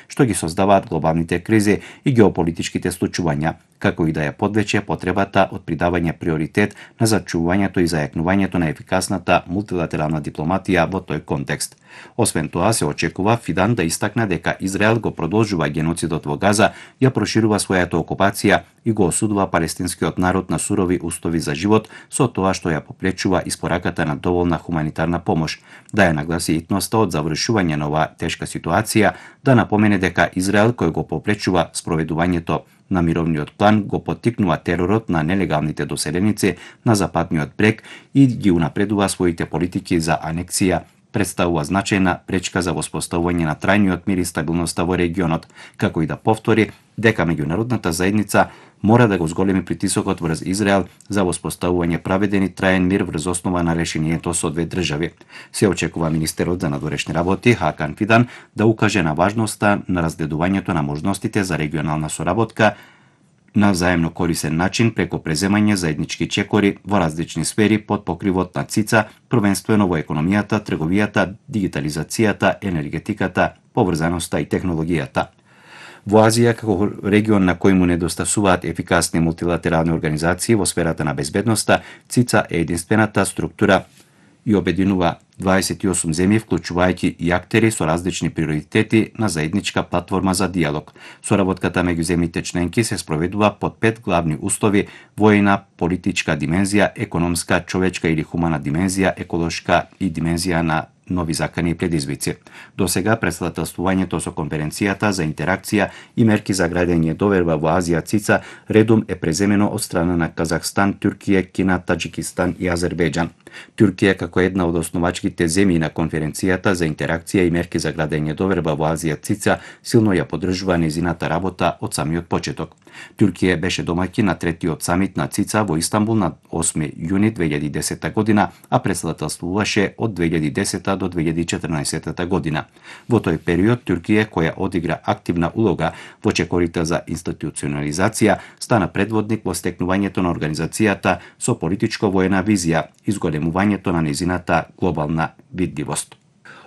што ги создаваат глобалните кризи и геополитичките случувања, како и да ја подвече потребата од придавање приоритет на зачувувањето и зајакнувањето на ефикасната мултилатерална дипломатија во тој контекст. Освен тоа, се очекува Фидан да истакне дека Израел го продолжува геноцидот во Газа, ја проширува својата окупација и го осудува палестинскиот народ на сурови услови за живот со тоа што ја попречува испораката на доволна хуманитарна помош, да ја нагласи итноста од завршување на оваа тешка ситуација, да напомене дека Израел кој го попречува спроведувањето на мировниот план го поттикнува теророт на нелегалните доселеници на западниот брег и ги унапредува своите политики за анексија, представува значајна пречка за воспоставување на трајниот мир и стабилноста во регионот, како и да повтори дека меѓународната заедница мора да го зголеми притисокот врз Израел за воспоставување праведен и траен мир врз основа на решението со две држави. Се очекува министерот за надворешни работи Хакан Фидан да укаже на важноста на разгледувањето на можностите за регионална соработка на взаемно корисен начин преку преземање заеднички чекори во различни сфери под покривот на ЦИЦА, првенствено во економијата, трговијата, дигитализацијата, енергетиката, поврзаноста и технологијата. Во Азија, како регион на кој му недостасуваат ефикасни мултилатерални организации во сферата на безбедноста, ЦИЦА е единствената структура и обединува 28 земји, вклучувајќи и актери со различни приоритети на заедничка платформа за диалог. Соработката меѓу земјите членки се спроведува под 5 главни услови: војна, политичка димензија, економска, човечка или хумана димензија, еколошка и димензија на нови закани и предизвици. До сега председателствувањето со конференцијата за интеракција и мерки за градење доверба во Азија ЦИЦА редум е преземено од страна на Казахстан, Туркија, Кина, Таџикистан и Азербејџан. Туркија, како една од основачките земји на конференцијата за интеракција и мерки за градење доверба во Азија ЦИЦА, силно ја поддржува нејзината работа од самиот почеток. Туркија беше домаќин на третиот самит на ЦИЦА во Истанбул на 8 јуни 2010 година, а председателствуваше од 2010 до 2014 година. Во тој период Туркија, која одигра активна улога во чекорите за институционализација, стана предводник во стекнувањето на организацијата со политичко-воена визија, изголемувањето на нејзината глобална видливост.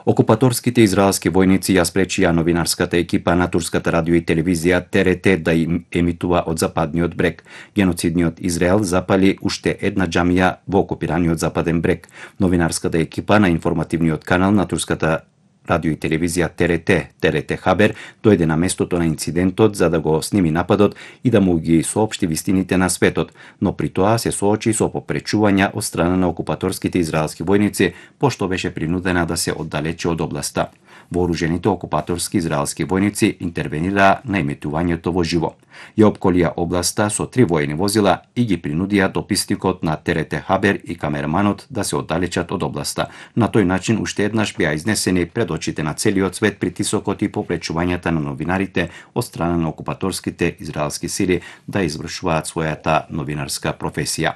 Окупаторските израелски војници ја спречија новинарската екипа на турската радио и телевизија ТРТ да им емитува од западниот брег. Геноцидниот Израел запали уште една џамија во окупираниот западен брег. Новинарската екипа на информативниот канал на турската радио и телевизија ТРТ Хабер дојде на местото на инцидентот за да го сними нападот и да му ги соопшти вистините на светот, но при тоа се соочи со попречувања од страна на окупаторските израелски војници, пошто беше принудена да се оддалечи од областа. Вооружените окупаторски израелски војници интервенираа на емитувањето во живо. Ја опколија областа со 3 војни возила и ги принудија дописникот на ТРТ Хабер и камераманот да се оддалечат од областа. На тој начин уште еднаш беа изнесени пред очите на целиот свет притисокот и попречувањата на новинарите од страна на окупаторските израелски сили да извршуваат својата новинарска професија.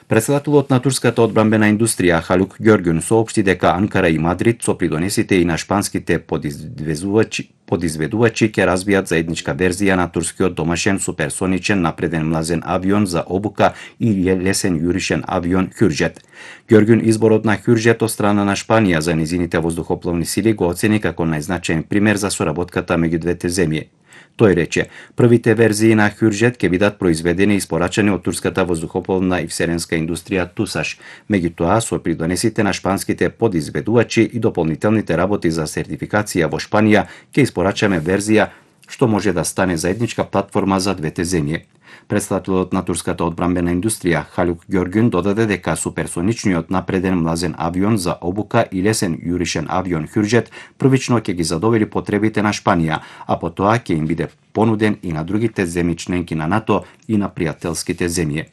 Председателот на турската одбранбена индустрија Халук Ѓорѓун соопшти дека Анкара и Мадрид со придонесите и на шпанските подизведувачи ќе развијат заедничка верзија на турскиот домашен суперсоничен напреден млазен авион за обука и лесен јуришен авион Хюрџет. Ѓорѓун изборот на Хюрџет од страна на Шпанија за низините воздухопловни сили го оцени како најзначаен пример за соработката меѓу двете земји. Тој рече, првите верзии на Хюрџет ќе бидат произведени и испорачани од турската воздухопловна и вселенска индустрија Тусаш. Меѓутоа, со придонесите на шпанските подизведувачи и дополнителните работи за сертификација во Шпанија, ќе испорачаме верзија што може да стане заедничка платформа за двете земји. Председателот на турската одбранбена индустрија Халук Ѓорѓун додаде дека суперсоничниот напреден млазен авион за обука и лесен јуришен авион Хюрџет првично ќе ги задоволи потребите на Шпанија, а потоа ќе им биде понуден и на другите земји членки на НАТО и на пријателските земји.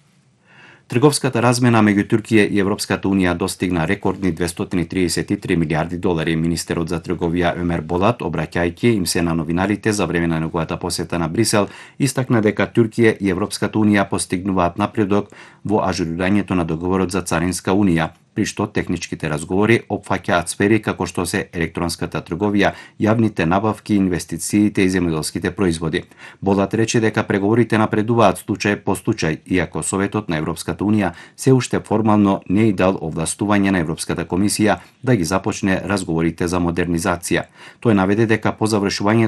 Трговската размена меѓу Туркија и Европската унија достигна рекордни $233 милиарди. Министерот за трговија Өмер Болат, обраќајќи им се на новинарите за време на неговата посета на Брисел, истакна дека Туркија и Европската унија постигнуваат напредок во ажурирањето на договорот за царинска унија, при што техничките разговори опфаќаат сфери како што се електронската трговија, јавните набавки, инвестициите и земјоделските производи. Болат рече дека преговорите напредуваат случај по случај, иако Советот на Европската Унија се уште формално не и дал овластување на Европската комисија да ги започне разговорите за модернизација. Тој наведе дека по завршувањето